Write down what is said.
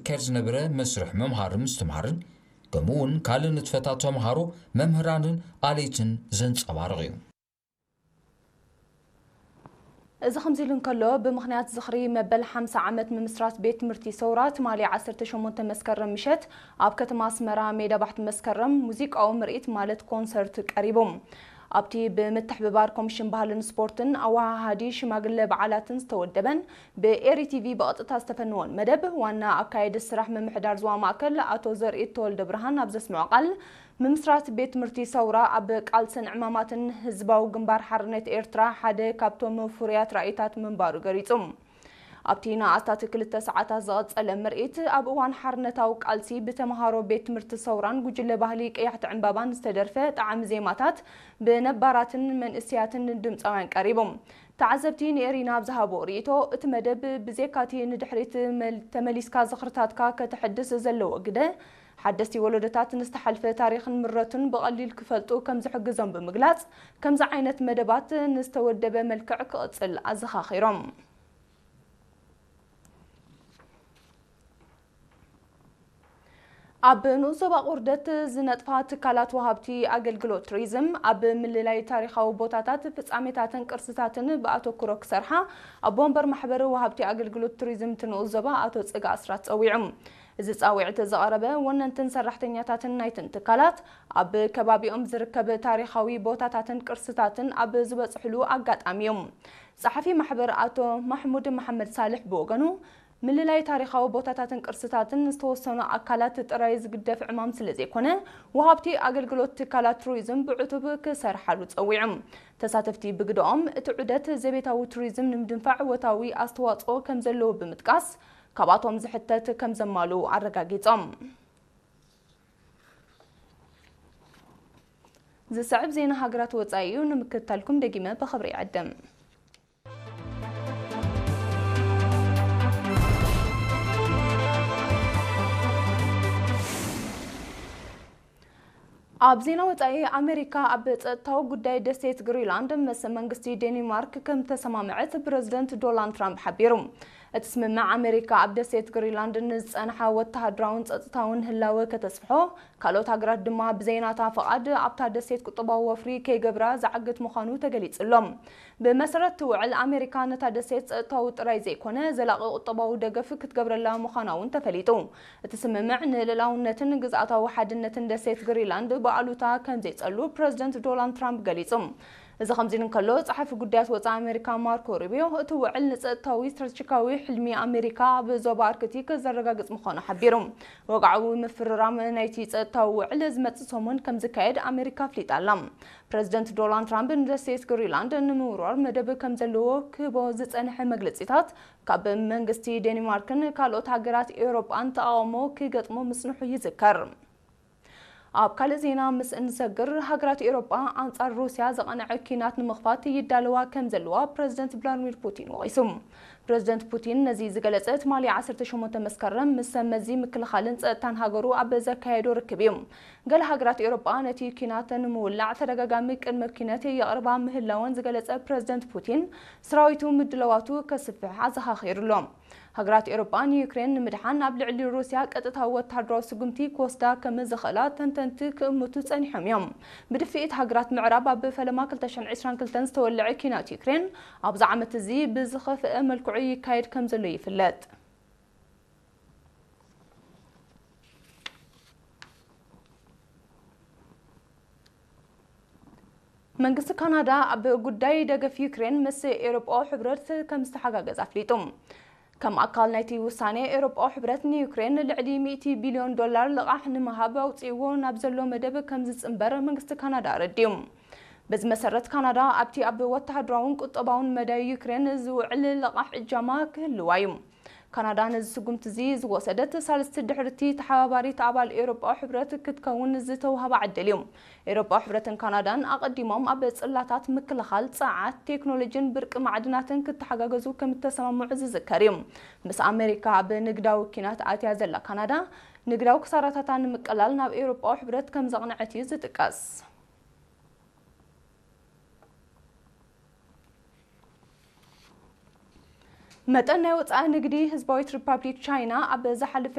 ክካየድ ዝነበረ መስርሕ ምምሃርን ምስትምሃርን፣ ከምኡ እውን ካልእ ንጥፈታት ተምሃሮ፣ መምህራንን ኣለይትን ዘንጸባርቕ እዩ። እዚ ከምዚ ኢሉ እንከሎ፣ ብምኽንያት ዝኽሪ መበል ሓምሳ ዓመት ምምስራት ቤት ትምህርቲ ሰውራ፣ ትማሊ ዓሰርተ ሸሞንተ መስከረም ምሸት ኣብ ከተማ ኣስመራ ሜዳ ባሕቲ መስከረም ሙዚቃዊ ምርኢት ማለት ኮንሰርት ቀሪቡ። ኣብቲ ብምትሕብባር ኮሚሽን ባህልን ስፖርትን ኣወሃሃዲ ሽማግለ በዓላትን ዝተወደበን ብኤሪ ቲቪ ብቐጥታ ዝተፈነወን መደብ፣ ዋና ኣካየዲ ስራሕ ምምሕዳር ዞባ ማእከል ኣቶ ዘርኢ ተወልደ ብርሃን ኣብ ዘስምዖ ቃል፣ ምምስራት ቤት ትምህርቲ ሰውራ ኣብ ቃልስን ዕማማትን ህዝባዊ ግንባር ሓርነት ኤርትራ ሓደ ካብቶም ፍሩያት ራእይታት ምንባሩ ገሊጹ። ኣብቲ ንኣስታት ክልተ ሰዓታት ዝቐጸለ ምርኢት፣ ኣብ እዋን ሓርነታዊ ቃልሲ ብተምሃሮ ቤት ትምህርቲ ሰውራን ጉጅለ ባህሊ ቀያሕቲ ዕምባባን ዝተደርፈ ጣዕሚ ዜማታት ብነባራትን መንእሰያትን ድምጻውያን ቀሪቡ። ተዓዘብቲ ንኤሪና ኣብ ዝሃቦ ርእይቶ፣ እቲ መደብ ብዜካቲ ንድሕሪት መል-፣ ተመሊስካ ዝኽርታትካ ከተሐድስ ዘለዎ ግደ፣ ሓደስቲ ወለዶታት ንዝተሓልፈ ታሪኽን ምረቱን ብቐሊል ክፈልጡ ከም ዝሕግዞም ብምግላጽ፣ ከምዚ ዓይነት መደባት ንዝተወደበ መልክዕ ክቕጽል ኣዘኻኺሮም። ኣብ ንኡስ ዞባ ቁርደት ዝነጥፋ ትካላት ወሃብቲ ኣገልግሎት ቱሪዝም ኣብ ምልላይ ታሪኻዊ ቦታታት፣ ፍጻሜታትን ቅርስታትን ብኣተኩሮ ክሰርሓ ኣቦ ወንበር ማሕበር ወሃብቲ ኣገልግሎት ቱሪዝም እቲ ንኡስ ዞባ ኣቶ ጽጋ ኣስራት ጸዊዑ። እዚ ጻውዒት ዘቕረበ ወነንትን ሰራሕተኛታትን ናይትን ትካላት ኣብ ከባቢኦም ዝርከብ ታሪኻዊ ቦታታትን ቅርስታትን ኣብ ዝበጽሕሉ ኣጋጣሚ እዩ። ጸሓፊ ማሕበር ኣቶ ማሕሙድ መሓመድ ሳልሕ ብወገኑ፣ ምልላይ ታሪኻዊ ቦታታትን ቅርስታትን ዝተወሰኑ ኣካላት ጥራይ ዝግደፍ ዕማም ስለ ዘይኮነ፣ ወሃብቲ ኣገልግሎት ትካላት ቱሪዝም ብዕቱብ ክሰርሓሉ ጸዊዑ። ተሳተፍቲ ብግደኦም፣ እቲ ዑደት ዘቤታዊ ቱሪዝም ንምድንፋዕ ወታዊ ኣስተዋጽኦ ከም ዘለዎ ብምጥቃስ፣ ካብኣቶም ዝሕተት ከም ዘማልኡ ኣረጋጊጾም። ዝስዕብ ዜና ሃገራት ወጻኢ እዩ፣ ንምክትታልኩም ደጊመ ብኽብሪ ይዕድም። ኣብ ዜና ወጻኢ፣ ኣሜሪካ ኣብ ጸጥታዊ ጉዳይ ደሴት ግሪንላንድ ምስ መንግስቲ ዴንማርክ ከም ተሰማምዐት ፕረዚደንት ዶናልድ ትራምፕ ሓቢሩ። እቲ ስምምዕ፣ ኣሜሪካ ኣብ ደሴት ግሪንላንድ ንዝጸንሐ ወተሃደራውን ጸጥታውን ህላወ ከተስፍሖ፣ ካልኦት ሃገራት ድማ ብዘይናታ ፍቓድ ኣብታ ደሴት ቁጠባዊ ወፍሪ ከይገብራ ዝዓግት ምዃኑ ተገሊጹ ኣሎ። ብመሰረት እቲ ውዕል፣ ኣሜሪካ ነታ ደሴት ጸጥታዊ ጥራይ ዘይኮነ፣ ዘላቒ ቁጠባዊ ደገፍ ክትገብረላ ምዃና እውን ተፈሊጡ። እቲ ስምምዕ ንልእላውነትን ግዝኣታዊ ሓድነትን ደሴት ግሪንላንድ ብኣሉታ ከም ዘይጸሉ ፕረዚደንት ዶናልድ ትራምፕ ገሊጹ። እዚ ከምዚ ኢሉ እንከሎ፣ ጸሓፊ ጉዳያት ወጻኢ ኣሜሪካ ማርኮ ሩቢዮ፣ እቲ ውዕል ንጸጥታዊ ስትራቴጂካዊ ሕልሚ ኣሜሪካ ኣብ ዞባ ኣርክቲክ ዘረጋግጽ ምዃኑ ሓቢሩ። ወግዓዊ ምፍርራም ናይቲ ጸጥታዊ ውዕል ዝመጽእ ሰሙን ከም ዝካየድ ኣሜሪካ ኣፍሊጣ ኣላ። ፕረዚደንት ዶናልድ ትራምፕ ንደሴት ግሪንላንድ ንምውርዋር መደብ ከም ዘለዎ ክህቦ ዝጸንሐ መግለጺታት፣ ካብ መንግስቲ ዴንማርክን ካልኦት ሃገራት ኤውሮጳን ተቓውሞ ክገጥሞ ምጽንሑ ይዝከር። ኣብ ካልእ ዜና ምስ እንሰግር፣ ሃገራት ኤውሮጳ ኣንጻር ሩስያ ዘቐንዐ ኲናት ንምኽፋት ይዳለዋ ከም ዘለዋ ፕረዚደንት ቭላድሚር ፑቲን ወቒሱ። ፕረዚደንት ፑቲን ነዚ ዝገለጸ፣ ትማሊ ዓሰርተ ሸሞንተ መስከረም ምስ ሰብ መዚ ምክልኻልን ጸጥታን ሃገሩ ኣብ ዘካየዶ ርክብ እዩ። ገለ ሃገራት ኤውሮጳ ነቲ ኲናት ንምውላዕ ተደጋጋሚ ቅድመ ኲነት የቕርባ ምህላወን ዝገለጸ ፕረዚደንት ፑቲን፣ ሰራዊቱ ምድላዋቱ ከስፍሕ ኣዘኻኺሩ ኣሎ። ሃገራት ኤውሮጳ ንዩክሬን ንምድሓን ኣብ ልዕሊ ሩስያ ቀጥታዊ ወተሃደራዊ ስጉምቲ ክወስዳ ከም ዝኽእላ ተንተንቲ ክእምቱ ጸኒሖም እዮም። ብድፍኢት ሃገራት ምዕራብ፣ ኣብ ፈለማ ክልተ ሽሕን ዕስራን ክልተን ዝተወልዐ ኲናት ዩክሬን ኣብዚ ዓመት እዚ ብዝኸፍአ መልክዑ ይካየድ ከም ዘሎ ይፍለጥ። መንግስቲ ካናዳ ኣብ ጉዳይ ደገፍ ዩክሬን ምስ ኤውሮጳዊ ሕብረት ከም ዝተሓጋገዝ ኣፍሊጡ። ከም ኣካል ናይቲ ውሳኔ፣ ኤውሮጳዊ ሕብረት ንዩክሬን ልዕሊ ሚእቲ ቢልዮን ዶላር ልቓሕ ንምሃብ ኣውጺእዎ ናብ ዘሎ መደብ ከም ዝጽንበር መንግስቲ ካናዳ ኣረዲኡ። በዚ መሰረት፣ ካናዳ ኣብቲ ኣብ ወተሃደራውን ቁጠባውን መዳይ ዩክሬን ዝውዕል ልቓሕ እጃማ ክህልዋ እዩ። ካናዳ ነዚ ስጉምቲ እዚ ዝወሰደት፣ ሳልስቲ ድሕርቲ ተሓባባሪት ኣባል ኤውሮጳዊ ሕብረት ክትከውን ዝተውሃባ ዕድል እዩ። ኤውሮጳዊ ሕብረትን ካናዳን ኣቐዲሞም ኣብ ጽላታት፣ ምክልኻል፣ ጸዓት፣ ቴክኖሎጂን ብርቂ ማዕድናትን ክተሓጋገዙ ከም እተሰማምዑ ዝዝከር እዩ። ምስ ኣሜሪካ ኣብ ንግዳዊ ኲናት ኣትያ ዘላ ካናዳ፣ ንግዳዊ ክሳራታታ ንምቅላል ናብ ኤውሮጳዊ ሕብረት ከም ዘቕንዐት እዩ ዝጥቀስ። መጠን ናይ ወጻኢ ንግዲ ህዝባዊት ሪፓብሊክ ቻይና ኣብ ዝሓለፈ